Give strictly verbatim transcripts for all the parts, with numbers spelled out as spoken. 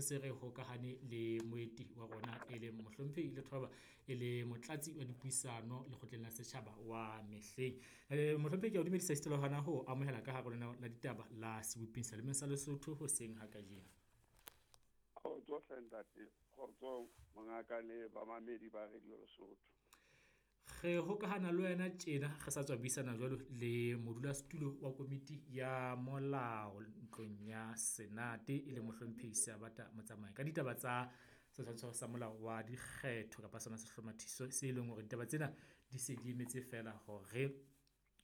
se re hokahane le moeti wa rona e leng Mohlomphehi Lethoba, e le motlatsi wa dipuisano lekgotleng la setjhaba wa mehleng. Mohlomphehi ke a o dumedisa esita le hona ho amohela ka hare ho lenaneo la ditaba la Seboping Selemeng sa Lesotho hoseng ha kajeno. Kgotso hle ntate, kgotso mongaka le bamamedi ba Radio Lesotho. Re hokahana le wena tjena re sa tswa buisana jwalo le modulasetulo wa komiti ya molao ntlong ya Senate, e leng Mohlomphehi Seabata Motsamai ka ditaba tsa setshwantsho sa molao wa dikgetho kapa sona sehlomathiso se leng hore ditaba tsena di se di emetse feela hore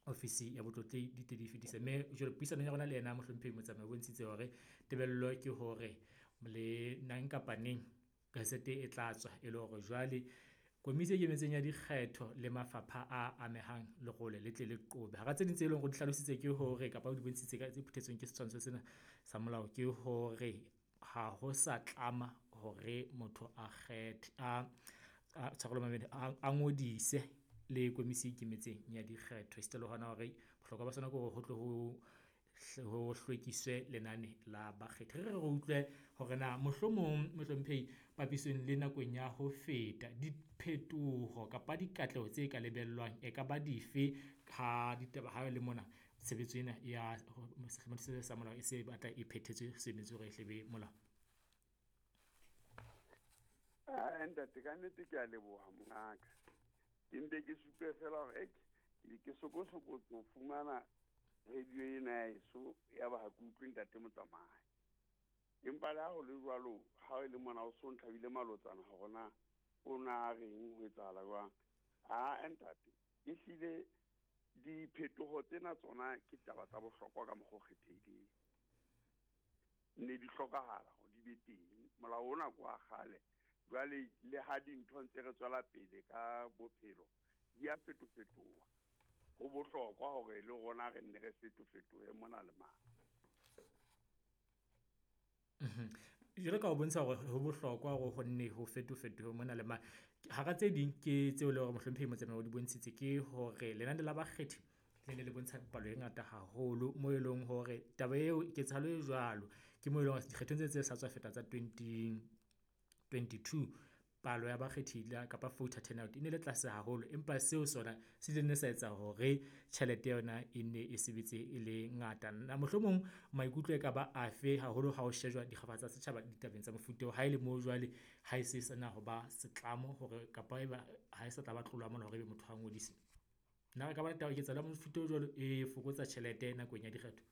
ofisi ya Botlotlehi di tle di fetise. Mme jwale puisanong ya rona le yena Mohlomphehi Motsamai o bontshitse hore tebello ke hore le nang kapa neng gazette e tla tswa e le hore jwale komiti e ikemetseng ya dikgetho le mafapha a amehang lerole le tle le qobe. Hara tse ding tse leng hore di hlalositse ke hore kapa o di bontshitse ka tse phuthetsweng ke setshwantsho sena sa molao ke hore ha ho sa tlama hore motho a kgethe a a tshwarelo mamedi a ngodise le komisi e ikemetseng ya dikgetho. Esita le hona hore bohlokwa ba sona ke hore ho tle ho ho hlwekiswe lenane la bakgethi. Re re re utlwe hore na mohlomong Mohlomphehi papisong le nakong ya ho feta diphetoho kapa dikatleho tse ka lebellwang e ka ba dife ha ditaba ha le mona tshebetso ena ya sehlomathiso sa molao e se batla e phethetswe se emetse hore e hle be molao. Ah, ntate ka nnete ke a leboha mongaka. Ke mpe ke supe fela hore ke sokosokotso ho fumana radio ena ya heso ya ba ha ke utlwe ntate Motsamai. Empa le ha ho le jwalo, ha e le mona o so ntlhabile malotsana hore na o na reng ho etsahala jwang. Ah, ntate, ehlile diphetoho tsena tsona ke taba tsa bohlokwa ka mokgwa o kgethehileng. Ne di hlokahala hore di be teng. Molao ona ke wa kgale. Jwale le ha dintho ntse re tswela pele ka bophelo, di a fetofetoha. Ho bohlokwa hore le rona re nne re fetofetohe mona le mane. Jwalo ka o bontsha hore ho bohlokwa hore ho nne ho fetofetohe mona le mane. Hara tse ding ke tseo e leng hore Mohlomphehi Motsamai o di bontshitse ke hore lenane la bakgethi le ne le bontsha palo e ngata haholo moo e leng hore taba eo ketsahalo e jwalo ke moo e leng hore dikgethong tse tse sa tswa feta tsa twenty twenty-two palo ya bakgethi kapa voter turnout e ne le tlase haholo, empa seo sona se ile sa etsa hore tjhelete yona e ne e sebetse e le ngata. Na mohlomong maikutlo e ka ba afe haholo ha ho shejwa dikgaba tsa setjhaba ditabeng tsa mofuta oo, ha e le moo jwale ha e se sena ho ba setlamo hore kapa eba ha e sa tla ba tlolo ya molao hore ebe motho a ngodise? Na re ka ba le taba ketsahalo ya mofuta o jwalo e fokotsa tjhelete nakong ya dikgetho?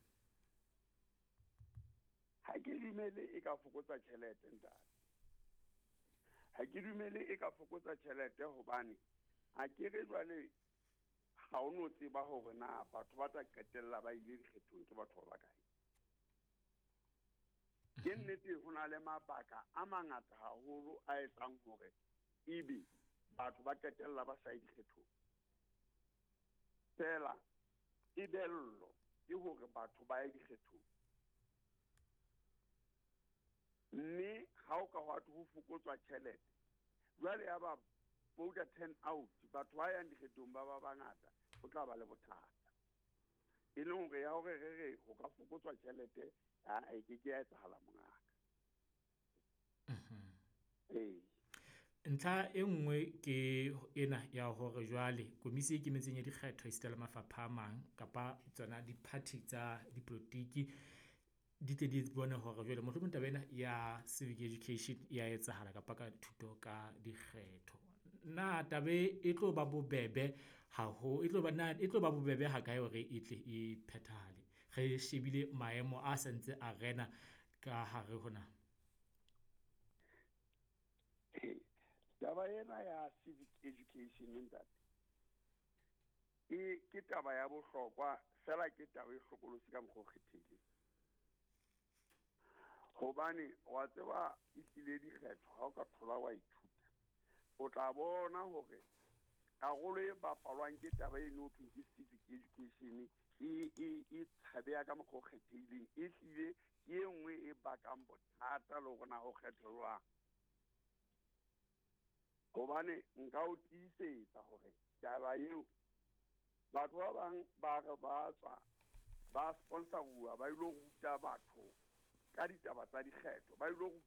Ha ke dumele e ka fokotsa tjhelete ntate. Ha ke dumele e ka fokotsa tjhelete hobane ha ke re jwale ha o no tseba hore na batho ba tla qetella ba ile dikgethong ke batho ba bakae. Ke nnete ho na le mabaka a mangata haholo a etsang hore ebe batho ba qetella ba sa ye dikgethong. Fela tebello ke hore batho ba ye dikgethong. Mme ha o ka hwa ho fokotswa tjhelete, jwale ya ba voter turn out, batho ba yang dikgethong ba ba bangata, ho tla ba le bothata. E leng hore ya hore re re ho ka fokotswa tjhelete, ha e ke ke ya etsahala mongaka. Ee. Ntlha e nngwe ke ena ya hore jwale komisi e ikemetseng ya dikgetho esita le mafapha a mang kapa tsona di-party tsa dipolotiki di tle di bone hore jwale mohlomong taba ena ya civic education ya etsahala kapa ka thuto ka dikgetho. Na taba e tlo ba bobebe haho e tlo ba na e tlo ba bobebe ha kae hore e tle e phethahale? Re shebile maemo a santse a rena ka hare ho naha. Taba ena ya civic education ntate, e ke taba ya bohlokwa fela ke taba e hlokolosi ka mokgwa o kgethehileng. Hobane wa tseba ehlile dikgetho ha o ka thola wa ithuta, o tla bona hore karolo e bapalwang ke taba eno ho thweng ke civic education e, e, e tshabeha ka mokgwa o kgethehileng. Ehlile ke e nngwe e bakang bothata le hore na ho kgethwa jwang. Hobane nka o tiisetsa hore taba eo batho ba bang ba re ba tswa ba sponsoruwa ba ilo ruta batho ka ditaba tsa dikgetho, ba ilo ruta